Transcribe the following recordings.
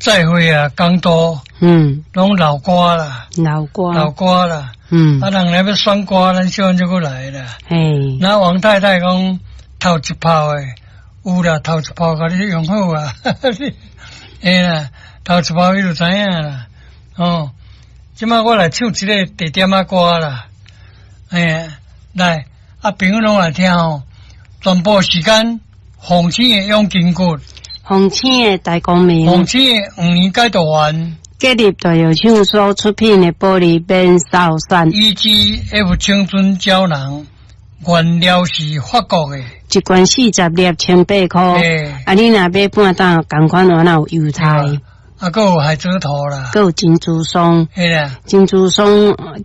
再會啊，講道，攏老歌啦，老歌，老歌啦，啊，人來欲選歌，咱小漢就閣來啦。那王太太講頭一炮的，有啦，頭一炮共你用好啊，會啦，頭一炮伊就知影啦。哦，這擺我來唱一个地點仔歌啦，哎，來，啊，朋友攏來聽哦，全部時間，鳳青的養筋骨，鳳青的大光明，鳳青的黃連解毒丸，吉立大藥廠所出品的玻璃免掃散，EGF 青春膠囊，原料是法國的，一罐40粒，18箍。啊，你若買半擔，仝款我若有優待。啊，閣有海蜇頭啦，閣有珍珠霜，珍珠霜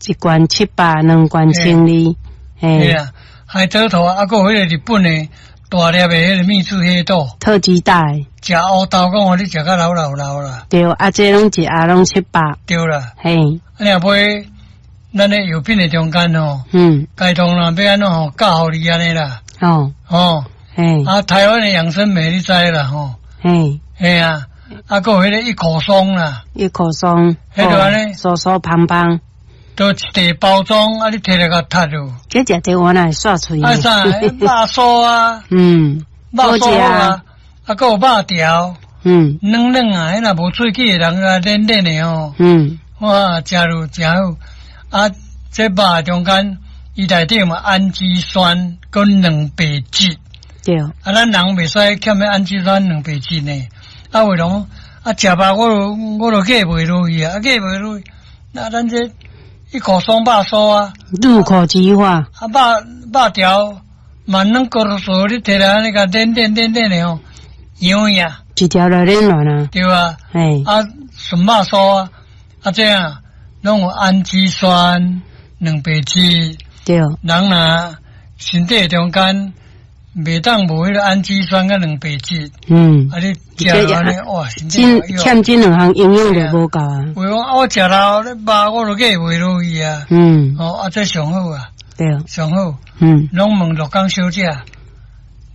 一罐700，兩罐1200。嘿啊，海蜇頭啊，閣有彼个日本的大粒的彼个秘制黑豆，特級袋。食烏豆講予你食甲流流流啦。對，啊，這攏一盒攏七百。對啦。嘿。啊，你若買咱的藥品的中間吼，該當啦，欲按怎吼教予你按呢啦。哦。嘿。啊，台灣的養生美你知啦吼。嘿啊。啊，閣有彼個一口霜啦，一口霜，彼就按呢，酥酥芳芳，都一袋包裝，啊，你提來共踢落。這食著我會煞喙。啊啥？肉酥啊，肉酥啊，啊，閣有肉條，軟軟啊，彼若無喙齒的人啊，軟軟的吼，哇，食落誠好。啊，這肉中間伊內底有氨基酸佮蛋白質。啊，咱人袂使欠彼氨基酸蛋白質呢。啊，為攏啊，食肉我都過袂落去啊，啊，過袂落去，那咱這一口霜肉酥啊，入口即化，啊，肉肉條嘛軟骨酥，你提來按呢共軟軟軟軟的吼，軟呀，一條就軟軟啊，對啊，啊，純肉酥啊，啊這樣攏有氨基酸、蛋白質，人若身體中間袂當無彼个氨基酸佮蛋白質，啊你食落按呢，哇，身體欠這兩項營養就無夠啊。有講啊，我食了咧肉，我都過袂落去啊。哦，啊，這上好啊。上好。攏問鹿港小姐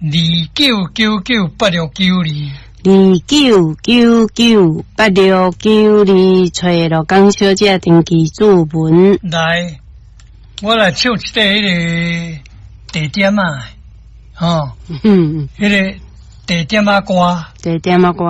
，29998692。29998692，揣鹿港小姐登記注文。來，我來唱一塊彼个地點仔。哦，彼个地點仔歌，地點仔歌，